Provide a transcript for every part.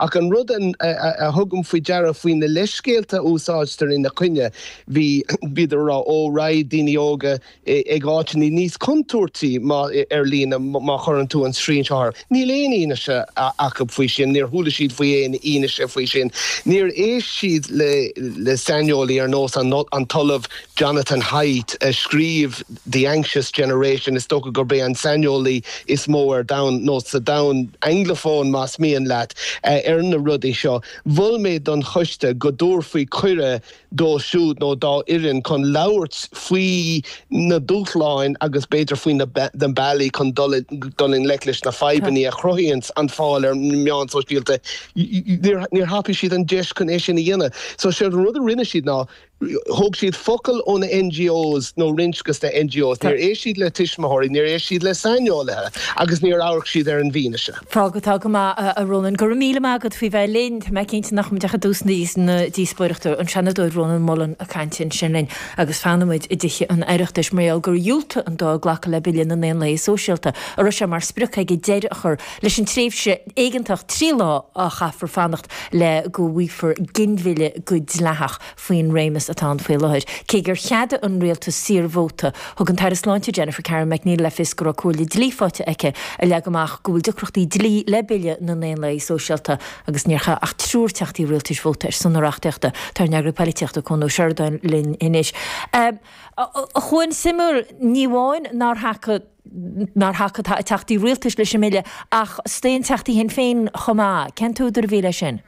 Ach an rud a thugaim faoi deara faoi na leithscéalta a úsáidtear ina coinne, bhí, bhíodar a rá, ó, raghaidh daoine óga ag áiteanna níos contúirtí má, ar líne má chuireann tú an srian seo orthu. Níl aon fhianaise acu faoi sin, níor chuala siad faoi aon fhianaise faoi sin. Níor éist siad le le saineolaí ar nós an an tOllamh Jonathan Haidt a scríobh The Anxious Generation, is dócha gurb é an saineolaí is mó ar domhan, nó sa domhan Anglophone más mian leat, ar na rudaí seo. Mhol mé don choiste go dtabharfaí cuireadh dó siúd nó dá fhoireann chun labhairt faoi na dúshláin agus b'fhéidir faoi na bealaí chun dul i ngleic leis na fadhbanna a chruthaíonns an fáil ar na meáin sóisialta. Níor thapaigh siad an deis chun é sin a dhéanamh. So séard an rud a rinne siad ná thóg siad focal ó na NGOs nó roinnt de na NGOs. Níor éist siad le tuismitheoirí, níor éist siad le saineolaithe agus níor amharc siad ar an bhfianaise. Fág atá go maith, a Rónan. Go raibh míle maith agat faoi bheith linn. Tá mé cinnte nach mbeidh ach i dtús na díospóireachta. An Seanadóir Rónan Mullen ag caint ansin linn agus fanfaidh muid i dTithe an Oireachtais mar gheall gur dhiúltaigh an Dáil glacadh le Bille na nDaonlathaithe Sóisialta a raibh sé mar sprioc aige deireadh a chur leis an tréimhse éigeantach 3 lá a chaithfear fanacht le go bhfaighfear ginmhilleadh go dleathach. faoin réimeas atá ann faoi láthair. Cé gur cheadaigh an rialtas saorvóta, thug an tAire Sláinte Jennifer Carroll MacNeill le fios go raibh comhairle dlí faighte aici a leag amach go bhfuil deacrachtaí dlí le Bille na nDaonlathaithe Sóisialta agus níor chaith ach triúr teachtaí rialtais vóta ar son na reachtaíochta. Tá ár n-eagraí polaitíochta Cuan Ó Seireadáin linn anois. A Chuain, suimiúil, ní amháin nár thacaigh nár thacaigh teachtaí rialtais leis an mbille ach staon teachtaí Shinn Féin chomh maith. Cén t-údar a bhí leis sin?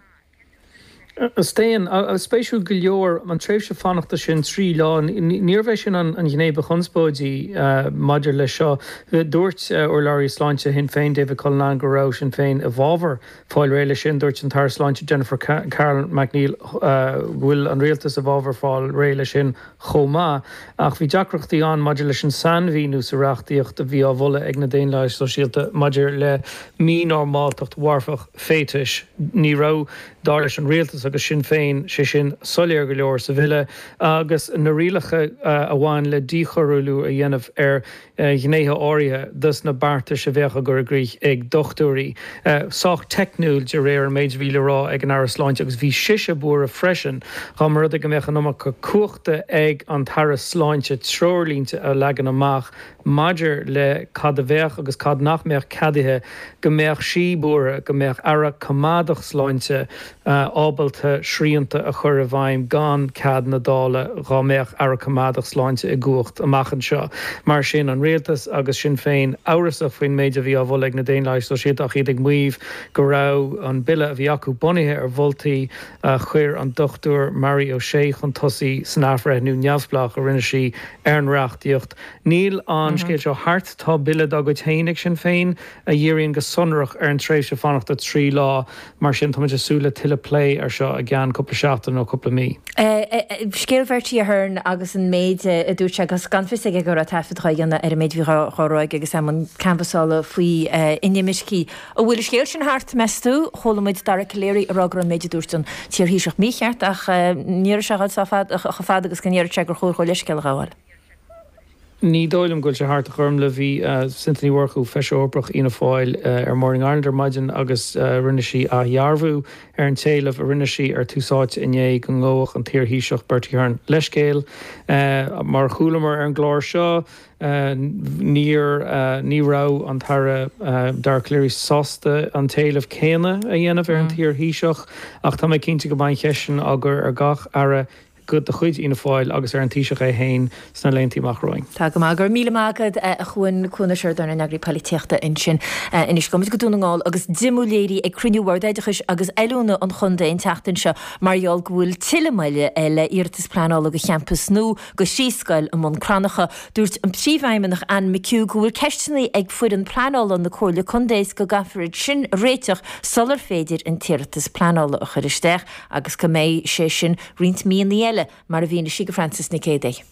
Staon. Spéisiúil go leor, an tréimhse fanachta sin, 3 lá, níorbh é sin an ghné ba chonspóidí maidir leis seo. Dúirt urlabhraí sláinte Shinn Féin, David Cullinane, go raibh Sinn Féin i bhfabhar fáil réidh leis sin. Dúirt an tAire Sláinte Jennifer Carroll MacNeill go bhfuil an rialtas i bhfabhar fáil réidh leis sin chomh maith. Ach bhí deacrachtaí ann maidir leis an sainmhíniú sa reachtaíocht a bhí á mholadh ag na Daonlathaithe Sóisialta maidir le mínormáltacht mharfach féatais. Ní raibh, dar leis an rialtas agus Sinn Féin, sé sin soiléir go leor sa bhille agus na rialacha a bhain le díchoiriúlú a dhéanamh ar ghnéithe áirithe dos na beartais a bheadh á gcur i gcrích ag dochtúirí. Sách teicniúil de réir an méid a bhí le rá ag an Aire Sláinte agus bhí sise buartha freisin dá mba rud é go mbeadh an iomarca cumhachta ag an tAire Sláinte treoirlínte a leagan amach maidir le cad a bheadh agus cad nach mbeadh ceadaithe, go mbeadh sí buartha go mbeadh aire coimeádach sláinte ábalta srianta a chur i bhfeidhm gan cead na Dála dhá mbeadh aire coimeádach sláinte i gcumhacht amach anseo. Mar sin, an rialtas agus Sinn Féin amhrasach faoin méid a bhí á mholadh ag na Daonlathaigh Sóisialta ach iad ag maíomh go raibh an bille a bhí acu bunaithe ar mholtaí a chuir an Dr Mary O'Shea chun tosaigh san athbhreithniú neamhspleách a rinne sí ar an reachtaíocht. Níl an scéal seo thart. Tá bille dá gcuid féin ag Sinn Féin a dhíríonn go sonrach ar an tréimhse fanachta 3 lá. Mar sin, táimid ag súil le tuilleadh plé air seo i gceann cúpla seachtain nó cúpla mí. Scéal Bhertie Ahern agus an méid a dúirt sé agus gan fios aige go raibh taifead dhá dhéanamh ar an méid a bhí dhá rá aige agus é i mbun canbhasála faoi inimircigh. An bhfuil an scéal sin thart, meas tú? Chuala muid Dara Calleary ag rá go raibh an méid a dúirt an t-iar-Thaoiseach mícheart ach ní raibh sé ag dul chomh fada agus go ndéarfadh sé gur chóir dhó leithscéal a ghabháil. Ní dóigh liom go bhfuil sé thart, a Ghormlaith. Bhí Cynthia Ní Mhurchú, Feisire Eorpach Fhianna Fáil, ar Morning Ireland ar maidin agus rinne sí athdhearbhú ar an t-éileamh a rinne sí ar Tús Áite inné go ngabhfadh an t-iar-Thaoiseach Bertie Ahern leithscéal. Mar a chualamar ar an gclár seo, Níor, ní raibh an tAire Dara Calleary sásta an t-éileamh céanna a dhéanamh ar an t-iar-Thaoiseach ach tá mé cinnte go mbeidh an cheist sin á gcur ar gach Aire de chuid Fhianna Fáil agus ar an Taoiseach é féin sna laethanta amach romhainn. Tá go maith. Go raibh míle maith agat, a Chuain. Cuan Ó Seireadáin, ár n-eagraí polaitíochta ansin. Anois, gabhfaidh muid go Dún na nGall agus díomá léirithe ag cruinniú Bhord Oideachais agus Oiliúna an chontae an tseachtain seo mar gheall go bhfuil tuilleadh moille le iarratas pleanála do champas nua do thrí scoil i mBun Cranncha. Dúirt an Príomhfheidhmeannach Anne McHugh go bhfuil ceisteanna ag foireann pleanála na Comhairle Contae is go gcaithfear iad sin a réiteach sular féidir an t-iarratas pleanála a chur isteach agus go mbeidh sé sin roinnt míonna eile, mar a mhínigh sí do Frances Nic Géadaigh.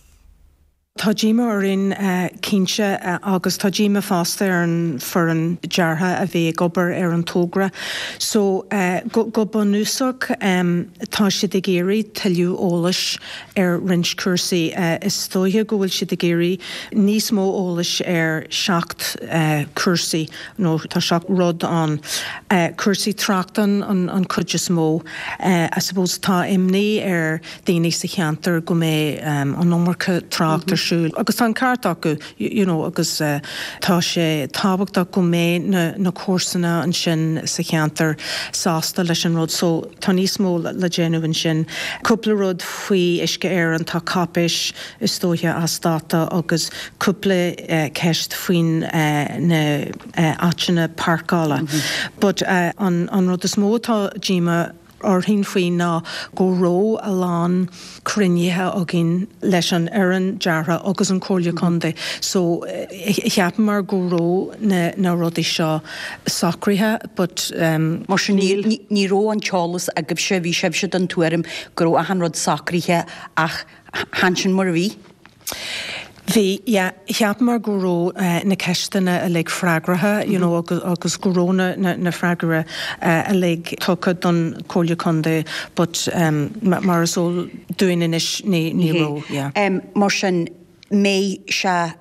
Tá díomá orainn cinnte agus tá díomá fosta ar an foireann deartha a bhí ag obair ar an togra. So go bunúsach tá siad ag iarraidh tuilleadh eolais ar roinnt cúrsaí. Is dóiche go bhfuil siad ag iarraidh níos mó eolais ar 7 cúrsaí nó tá 7 rud ann. Cúrsaí tráchta an chuid is mó. I suppose tá imní ar daoine sa cheantar go mbeidh an iomarca trácht ar siúl agus tá an ceart acu you know agus tá sé tábhachtach go mbeidh na na comharsana ansin sa cheantar sásta leis an rud so tá níos mó le déanamh ansin. Cúpla rud faoi Uisce Éireann, tá cáipéis is dóiche as dáta agus cúpla ceist faoin na áiteanna páirceála but an an rud is mó atá díomá orainn faoi ná go raibh a lán cruinnithe againn leis an fhoireann deartha agus an Chomhairle Contae so cheapamar go raibh na na rudaí seo socraithe but Mar sin níl. Ní raibh an t-eolas agaibhse, bhí sibhse den tuairim go raibh achan rud socraithe ach chan sin mar a bhí. Bhí, yeah. Cheapamar go raibh na ceisteanna uilig freagraithe, you know, agus go raibh na, na, na freagraí uilig tugtha don Chomhairle Contae but mar is eol dúinn anois ní, ní raibh, yeah. Mar sin, mbeidh sé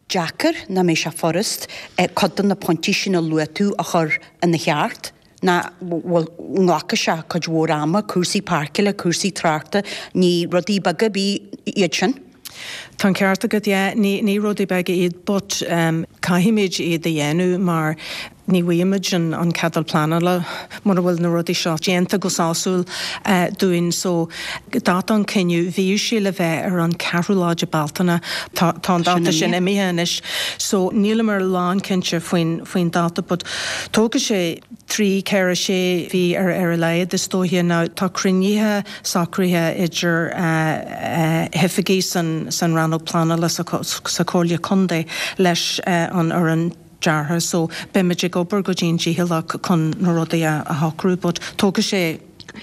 deacair, nó mbeidh sé furast, cuid de na pointí sin a luaigh tú a chur ina cheart? Nó bhfuil, nglacfaidh sé cuid mhór ama, cúrsaí páirceála, cúrsaí tráchta, ní rudaí beaga ar bith iad sin. Tá an ceart agat, yeah, ní, ní rudaí beaga iad but caithfimid iad a dhéanamh mar ní bhfaighimid an, an ceadal pleanála mura bhfuil na rudaí seo déanta go sásúil dúinn. So, dáta an chinneadh, bhíodh sé le bheith ar an ceathrú lá de Bealtaine, tá, tá an dáta sin imithe anois. So, níleamar lánchinnte faoin, faoin dáta but tógfaidh sé 3, 4, 6 mhí ar ar a laghad is dóiche. Now tá cruinnithe socraithe idir oifigigh san san rannóg pleanála sa sa Chomhairle Contae leis an fhoireann deartha so beimid ag obair go dian dícheallach chun na rudaí a a shocrú but tógfaidh sé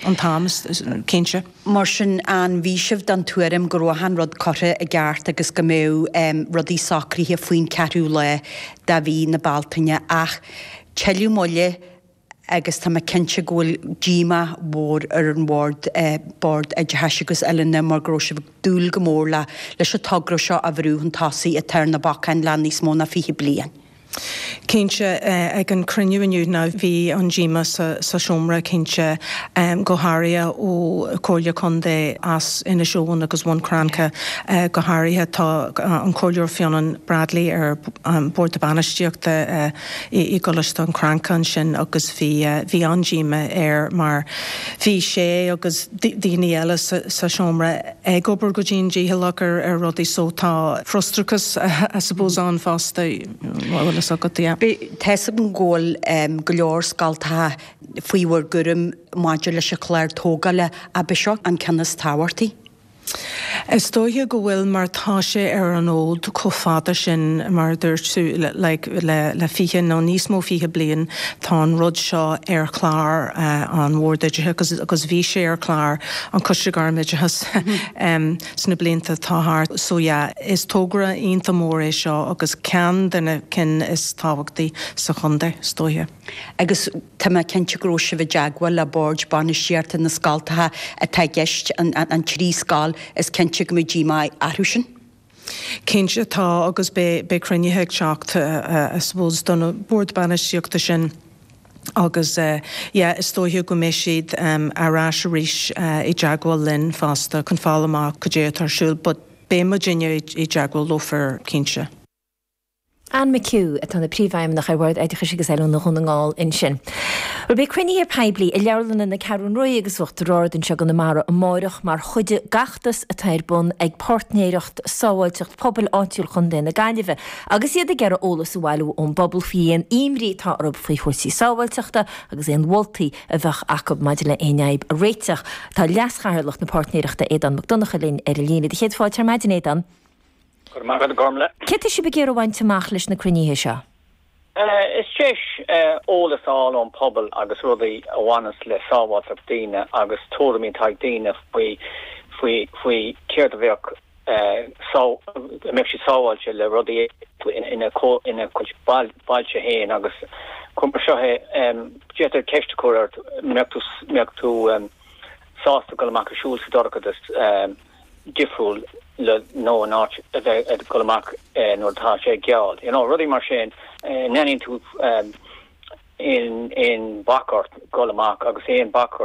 an t-am cinnte. Mar sin, an bhí sibh den tuairim go raibh achan rud curtha i gceart agus go mbeadh rudaí socraithe faoin ceathrú lá de mhí na Bealtaine ach tuilleadh moille agus tá mé cinnte go bhfuil díomá mhór ar an bhord, Bord Oideachais agus Oiliúna mar go raibh sibh ag dúil go mór le leis an togra seo a bhrú chun tosaigh atá ar na bacáin le níos mó ná 20 bliain. Cinnte, ag an cruinniú inniu now bhí an díomá sa seomra cinnte, go háirithe ó Comhairle Contae as Inis Eoghain agus Bhun Cranncha go háirithe. Tá an Comhairleoir Fionán Bradley ar Bord Bainistíochta i gColáiste an Chranncha ansin agus bhí bhí an-díomá air mar bhí sé agus daoine eile sa seomra ag obair go dian dícheallach ar ar rudaí so tá frustrachas I suppose ann fosta bhfuil fhios agat yeah. Tá fhios agam go bhfuil go leor scoltacha faoi bhur gcúram maidir leis an chlár tógála, ab é seo an ceann is tábhachtaí? Is dóiche go bhfuil mar tá sé ar an fhód chomh fada sin mar a dúirt tú like le le 20 nó níos mó 20 bliain tá an rud seo ar chlár an Bhord Oideachais agus bhí sé ar chlár an Choiste Gairmoideachais sna blianta atá thart. So yeah is togra iontach mór é seo agus ceann de na cinn is tábhachtaí sa chontae is dóiche. Agus tá mé cinnte go raibh sibh i dteagmháil le boird bainistíochta na scoltacha atá i gceist, an trí scoil, is cinnte go mbeidh díomá orthu sin. Cinnte tá agus beidh cruinnithe ag teacht I suppose do na boird bainistíochta sin agus yeah is dóiche go mbeidh siad ar ais arís i dteagmháil linn fosta chun fáil amach cad é atá ar siúl but beidh muidinne i dteagmháil leofa cinnte. Anne McHugh, atá ina Príomhfheidhmeannach ar Bhord Oideachais agus Oiliúna Dhún na nGall ansin. Bhuel, beidh cruinnithe poiblí i leabharlanna na Ceathrún Rua agus Uachtar Ard anseo i gConamara amáireach mar chuid den fheachtas atá ar bun ag Páirtnéireacht Sábháilteacht Pobail Áitiúil Chontae na Gaillimhe agus iad ag iarraidh eolas a bhailiú ón bpobal faoi aon imní atá orthu faoi chúrsaí sábháilteachta agus aon mholtaí a bheadh acu maidir le aon fhadhb a réiteach. Tá Leas-Chathaoirleach na Páirtnéireachta Aodán Mac Donncha linn ar an líne. Céad fáilte ar maidin, Aodán. Go raibh maith agat, a Ghormlaith. Céard tá sibh ag iarraidh a bhaint amach leis na cruinnithe seo? Is deis eolas a fháil ón pobal agus rudaí a bhaineas le sábháilteacht daoine agus tuairimí atá ag daoine faoi faoi faoi céard a bheadh. Go mbeadh siad sábháilte le rudaí ina gcuid bailte féin agus cuir mar seo é, d'fhéadfá ceist a chur ort, mbeadh tú sásta dul amach ag siúl sa dorchadas difriúil le nó in áit a bheith ag dul amach nuair atá sé geal, you know, rudaí mar sin, an ndéanann tú aon bac ort dul amach agus aon bac ort.